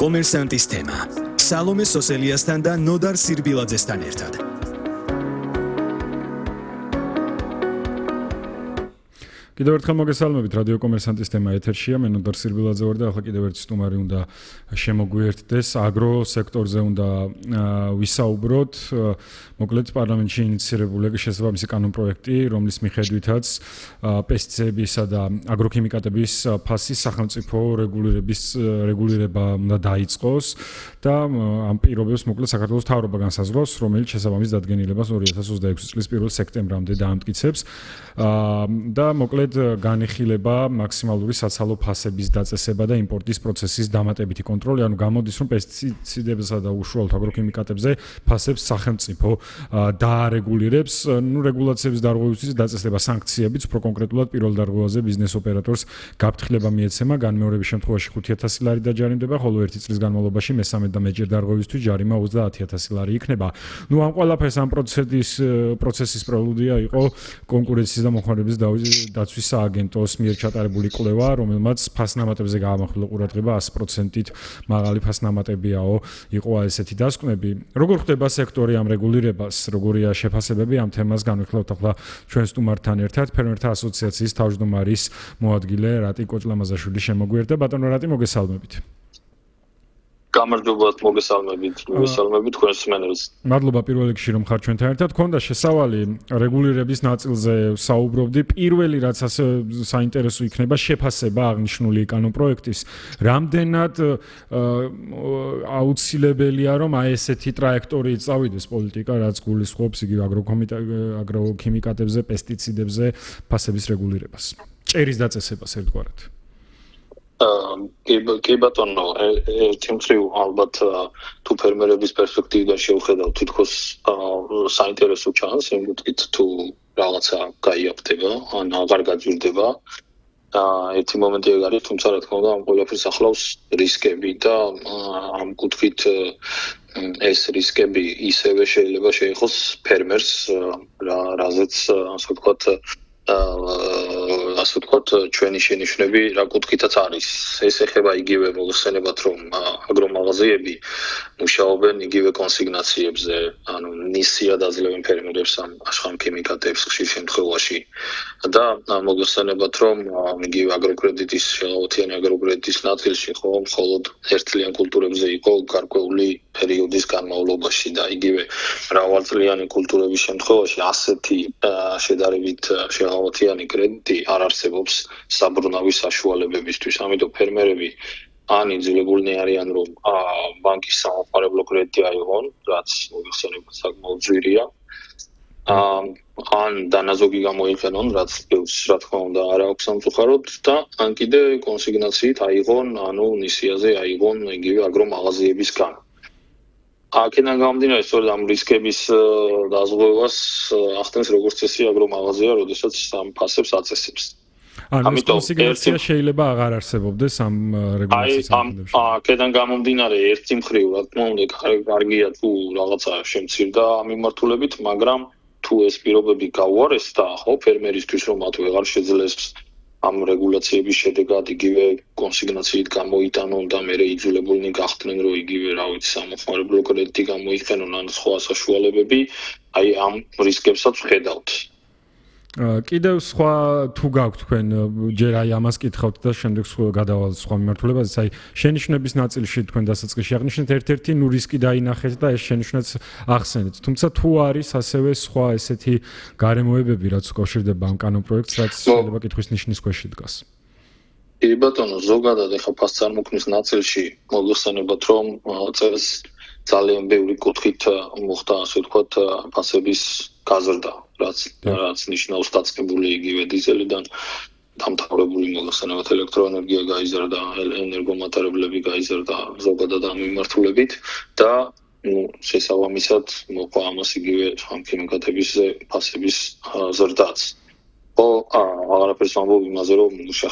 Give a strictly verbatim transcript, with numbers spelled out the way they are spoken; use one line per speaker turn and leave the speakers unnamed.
კომერსანტის თემა. სალომე სოსელიასთან და ნოდარ სირბილაძესთან ერთად.
კიდევ ერთხელ მოგესალმებით რადიო კომერსანტის თემა ეთერშია მე ნოდარ სირბილაძე ვარ და ახლა კიდევ ერთი სტუმარი უნდა შემოგვიერთდეს აგრო სექტორზე უნდა ვისაუბროთ მოკლედ პარლამენტში ინიციირებული შესაბამისი კანონპროექტი რომლის მიხედვითაც პესტიციდებისა და აგროქიმიკატების ფასის სახელმწიფო რეგულირების რეგულირება უნდა დაიწყოს და ამ პირობებს მოკლედ საქართველოს მთავრობა განსაზღვრავს რომელიც შესაბამის დადგენილებას ორი ათას ოცდაექვსი წლის პირველ სექტემბრამდე დაამტკიცებს და მოკლედ განიხილება მაქსიმალური საცალო ფასების დაწესება და იმპორტის პროცესის დამატებითი კონტროლი, ანუ გამოდის რომ პესტიციდებსა და უშუალოდ აგროქიმიკატებზე ფასებს სახელმწიფო დაარეგულირებს, ну რეგულაციების დარღვევისთვის დაწესება სანქციებიც, უფრო კონკრეტულად პირველ დარღვევაზე ბიზნეს ოპერატორს გაფრთხილება მიეცემა, განმეორების შემთხვევაში ხუთი ათასი ლარი დაჯარიმდება, ხოლო ერთი წლის განმავლობაში მესამე და მეჯერ დარღვევისთვის ჯარიმა ოცდაათი ათასი ლარი იქნება. ну ამ ყველაფერს ამ პროცესის პროცესის პრელუდია იყო კონკურენციის და მოხმარების დაცვის სააგენტოს მიერ ჩატარებული კვლევა, რომელმაც ფასნამატებზე გაამახვილა ყურადღება ასი პროცენტით მაღალი ფასნამატებიაო იყო ესეთი დასკვნები. როგორ ხდება სექტორი ამ რეგულირებას, როგორია შეფასებები ამ თემას განვიხილავთ ახლა ჩვენ სტუმართან ერთად, ფერმერთა ასოციაციის თავმჯდომარის მოადგილე რატი კოჭლამაზაშვილი შემოგვიერთდა. ბატონო რატი მოგესალმებით.
გამარჯობა მოგესალმებით, მოგესალმებით თქვენს მსმენელს.
მადლობა პირველ რიგში რომ ხარ ჩვენთან ერთად. გქონდა შესავალი რეგულირების ნაწილზე საუბრობდი. პირველი რაც ასე საინტერესო იქნება შეფასება აღნიშნული კანონპროექტის. რამდენად აუცილებელია რომ აი ესეთი ტრაექტორიით წავიდეს პოლიტიკა, რაც გულისხმობს იგივე აგროქიმიკატებზე, პესტიციდებზე ფასების რეგულირებას. ჭერის დაწესებას ერთგვარად.
კი ბატონო, ერთი მხრივ ალბათ თუ ფერმერების პერსპექტივიდან შევხედავთ, თითქოს საინტერესო ჩანს, იმ კუთხით თუ რაღაცა გაიაფთება, ან აღარ გაძვირდება. ერთი მომენტი ეგ არის, თუმცა რა თქმა უნდა, ამ ყველაფერს ახლავს რისკები და ამ კუთხით ეს რისკები ისევე შეიძლება შეეხოს ფერმერს, რაზეც ასე ვთქვათ ასე ვთქვათ ჩვენი შენიშვნები რა კუთხითაც არის. ეს ეხება იგივე მოგხსენებათ რომ აგრომაღაზიები მუშაობენ იგივე კონსიგნაციებზე, ანუ ნისიად აძლევენ ფერმერებს ამ ახალქიმიკატებს ხშირ შემთხვევაში და მოგხსენებათ რომ იგივე აგროკრედიტის შეღავათიანი აგროკრედიტის ნაწილში ხო მხოლოდ ერთწლიან კულტურებზე იყო გარკვეული პერიოდის განმავლობაში და იგივე მრავალწლიანი კულტურების შემთხვევაში ასეთი შედარებით შეღავათიანი კრედიტი არ არსებობს საბრუნავის საშუალებებისთვის. ამიტომ ფერმერები ან იძულებულნი არიან რომ ბანკის სამომხმარებლო კრედიტი აიღონ, რაც მოგხსენებათ საკმაოდ ძვირია. ან დანაზოგი გამოიყენონ, რაც რა თქმა უნდა არ აქვს სამწუხაროდ და ან კიდე კონსიგნაციით აიღონ, ანუ ნისიაზე აიღონ იგივე აგრომაღაზიებისგან. აქედან გამომდინარე, სწორედ ამ რისკების დაზღვევას ახდენს როგორც წესი აგრომაღაზია, როდესაც ამ ფასებს აწესებს.
ანუ კონსიგნაცია შეიძლება აღარ არსებობდეს ამ რეგულაციის საფუძველში.
აი, აქედან გამომდინარე, ერთი მხრივ, რა თქმა უნდა, კარგია თუ რაღაცა შემცირდა ამ მიმართულებით, მაგრამ თუ ეს პირობები გაუარესდა, ხო, ფერმერისთვის რომ მათ ვეღარ შეძლეს ამ რეგულაციების შედეგად იგივე კონსიგნაციით გამოიტანონ და მერე იძულებულნი გახდნენ რომ იგივე რა ვიცი სამომხმარებლო კრედიტი გამოიყენონ ან სხვა საშუალებები, აი ამ რისკებსაც ვხედავთ.
კიდევ სხვა თუ გაქვთ თქვენ ჯერ აი ამას კითხავთ და შემდეგ გადავალთ სხვა მიმართულებაზე, აი შენიშვნების ნაწილში თქვენ დასაწყისში აღნიშნეთ ერთ-ერთი ნუ რისკი დაინახეთ და ეს შენიშვნაც ახსენეთ. თუმცა თუ არის ასევე სხვა ესეთი გარემოებები, რაც უკავშირდება ამ კანონპროექტს, რაც შეიძლება კითხვის ნიშნის ქვეშ დგას.
კი ბატონო, ზოგადად ეხა ფასწარმოქმნის ნაწილში მოგხსენებათ რომ წელს ძალიან ბევრი კუთხით მოხდა ასე ვთქვათ ფასების გაზრდა. რაც რაც ნიშნავს დაწყებული იგივე დიზელიდან დამთავრებული მოგხსენებათ ელექტროენერგია გაიზარდა, ენერგომატარებლები გაიზარდა ზოგადად ამ მიმართულებით და ну შესაბამისად მოყვა ამას იგივე ხამქიმიკატების ფასების ზრდაც. ო აღარაფერს ვამბობ იმაზე რომ